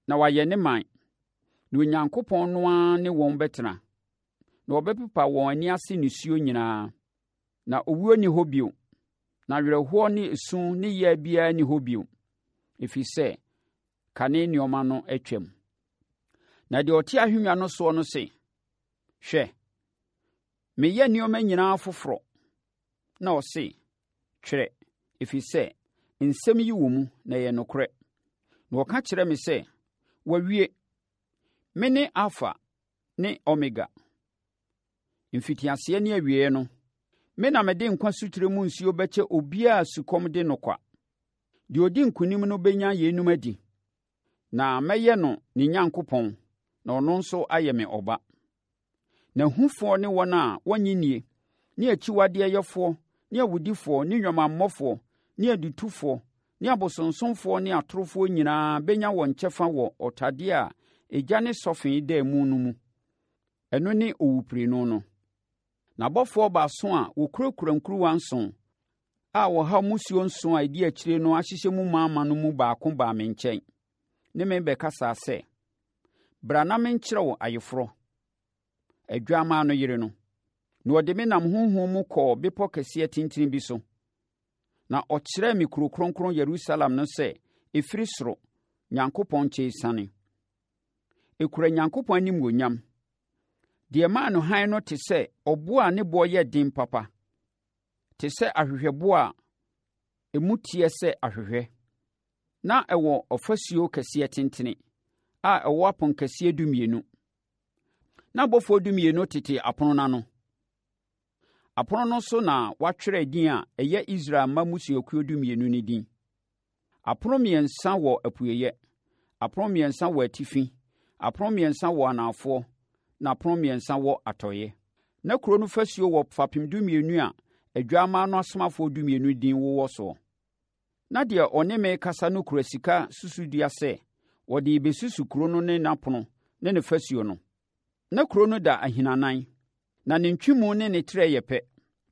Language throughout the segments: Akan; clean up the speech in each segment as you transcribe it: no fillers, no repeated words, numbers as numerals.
na wɔayɛ ne man, na Onyankopɔn no ara ne wɔn bɛtena. Na ɔbɛpepa wɔn ani ase nisuo nyinaa. Na owuo nni hɔ bio, na awerɛhoɔ ne esu ne yea biara nni hɔ bio, ɛfiri sɛ kane nneɛma no atwam. Na deɛ ɔte ahennwa no soɔ no se, Hwɛ, meyɛ nneɛma nyinaa foforɔ. Na ɔse, Twerɛ, ɛfiri sɛ nsɛm yi wɔ mu na ɛyɛ nokorɛ. Na ɔka kyerɛɛ me sɛ, Wɔawie! Mene Alfa ne Omega, mfitiaseɛ ne awieeɛ no. Me na mede nkwa sutire mu nsuo bɛkyɛ obiara a sukɔm de no kwa. Deɛ ɔdi nkonim no bɛnya yeinom adi, na mɛyɛ no ne Nyankopɔn na ɔno nso ayɛ me ɔba. Na ahufoɔ ne wɔn a wɔnnye nnie, ne akyiwadeɛyɛfoɔ, ne awudifoɔ, ne nnwamammɔfoɔ, ne adutofoɔ, ne abosonsomfoɔ ne atorofoɔ nyinaa bɛnya wɔn kyɛfa wɔ ɔtadeɛ a egya ne sɔfe da mu no mu. Ɛno ne owuprenu no. Na abɔfoɔ baason a wɔkurakura nkuruwa nson a ɔhaw mmusuo nson a ɛdi akyire no ahyehyɛ mu ma no mu baako baa me nkyɛn ne me bɛkasaa sɛ, Bra na menkyerɛ wo ayeforɔ, Adwammaa no yere no. Na ɔde me nam honhom mu kɔɔ bepɔ kɛseɛ tentene bi so. Na ɔkyerɛɛ me kuro kronkron Yerusalem no sɛ ɛfiri soro, Nyankopɔn nkyɛn resiane. Ɛkura Nyankopɔn animuonyam. Deɛ ɛmaa no hann no te sɛ ɔboɔ a ne boɔ yɛ den papa, te sɛ ahwehwɛboɔ a emu teɛ sɛ ahwehwɛ. Na ɛwɔ ɔfasuo kɛseɛ tentene a ɛwɔ aponkɛseɛ dumienu. Na abɔfoɔ dumienu tete apono no ano. Apono no so na wɔatwerɛ din a ɛyɛ Israel mma mmusuakuo dumienu no din. Apono mmiɛnsa wɔ apueeɛ, apono mmiɛnsa wɔ atifi, apono mmiɛnsa wɔ anafoɔ, na apono mmiɛnsa wɔ atɔeɛ. Na kuro no fasuo wɔ fapem dumienu a Adwammaa no asomafoɔ dumienu din wowɔ soɔ. Na deɛ ɔne me rekasa no kura sika susudua sɛ ɔde rebɛsusu kuro no ne n'apono ne ne fasuo no. Na kuro no da ahinanan, na ne ntwemu ne ne trɛ yɛ pɛ.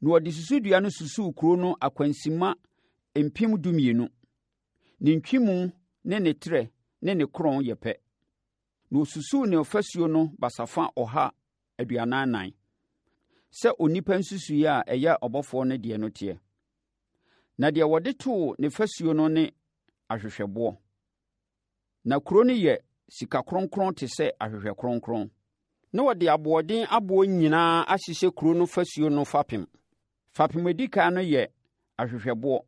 Na ɔde susudua no susuu kuro no akwansimma 12,000. Ne ntwemu ne ne trɛ ne ne korɔn yɛ pɛ. Na ɔsusuu ne ɔfasuo no basafa 144, sɛ onipa nsusuiɛ a ɛyɛ ɔbɔfoɔ no deɛ no teɛ. Na deɛ wɔde too ne fasuo no ne ahwehwɛboɔ. Na kuro no yɛ sika kronkron te sɛ ahwehwɛ kronkron. Na wɔde aboɔden aboɔ nyinaa ahyehyɛ kuro no fasuo no fapem. Fapem a ɛdi kan no yɛ ahwehwɛboɔ.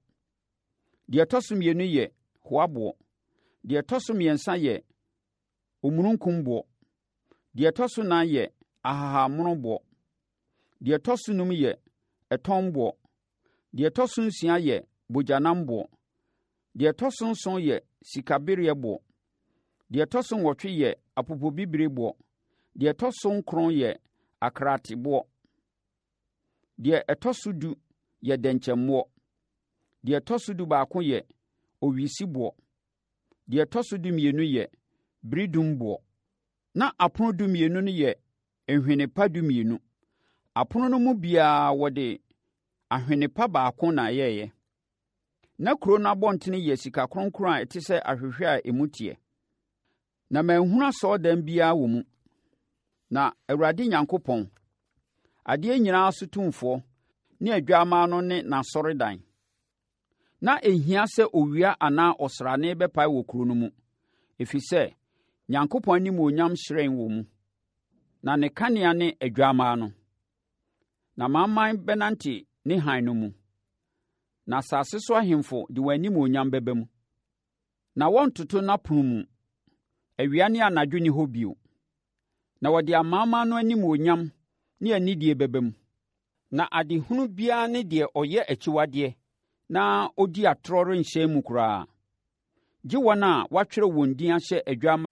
Deɛ ɛtɔ so mmienu yɛ hoaboɔ. Deɛ ɛtɔ so mmiɛnsa yɛ omununkumboɔ. Deɛ ɛtɔ so nan yɛ ahahammonoboɔ. Deɛ ɛtɔ so num yɛ ɛtɔnboɔ. Deɛ ɛtɔ so nsia yɛ bogyanamboɔ. Deɛ ɛtɔ so nson yɛ sikabereɛboɔ. Deɛ ɛtɔ so nwɔtwe yɛ apopobibirieboɔ. Deɛ ɛtɔ so nkron yɛ akraateboɔ. Deɛ ɛtɔ so du yɛ dɛnkyɛmmoɔ. Deɛ ɛtɔ so dubaako yɛ owisiboɔ. Deɛ ɛtɔ so dumienu yɛ beredumboɔ. Na apono dumienu no yɛ nhwene pa dumienu. Apono no mu biara wɔde ahwene pa baako na ɛyɛeɛ. Na kuro no abɔntene yɛ sika kronkron a ɛte sɛ ahwehwɛ a emu teɛ. Na manhunu asɔredan biara wɔ mu. Na Awurade Nyankopɔn, adeɛ nyinaa so tumfoɔ, ne Adwammaa no ne n'asɔredan. Na ɛnhia sɛ owia anaa ɔsrane bɛpae wɔ kuro no mu, ɛfiri sɛ, Nyankopɔn animuonyam hyerɛn wɔ mu, na ne kanea ne Adwammaa no. Na amanaman bɛnante ne hann no mu, na asase so ahemfo de wɔn animuonyam bɛba mu. Na wɔrentoto n'apono mu. Awia ne anadwo nni hɔ bio. Na wɔde amanaman no animuonyam ne anidie bɛba mu. Na adehunu biara ne deɛ ɔyɛ akyiwadeɛ na ɔdi atorɔ renhyɛn mu koraa, gye wɔn a wɔatwerɛ wɔn din ahyɛ Adwammaa.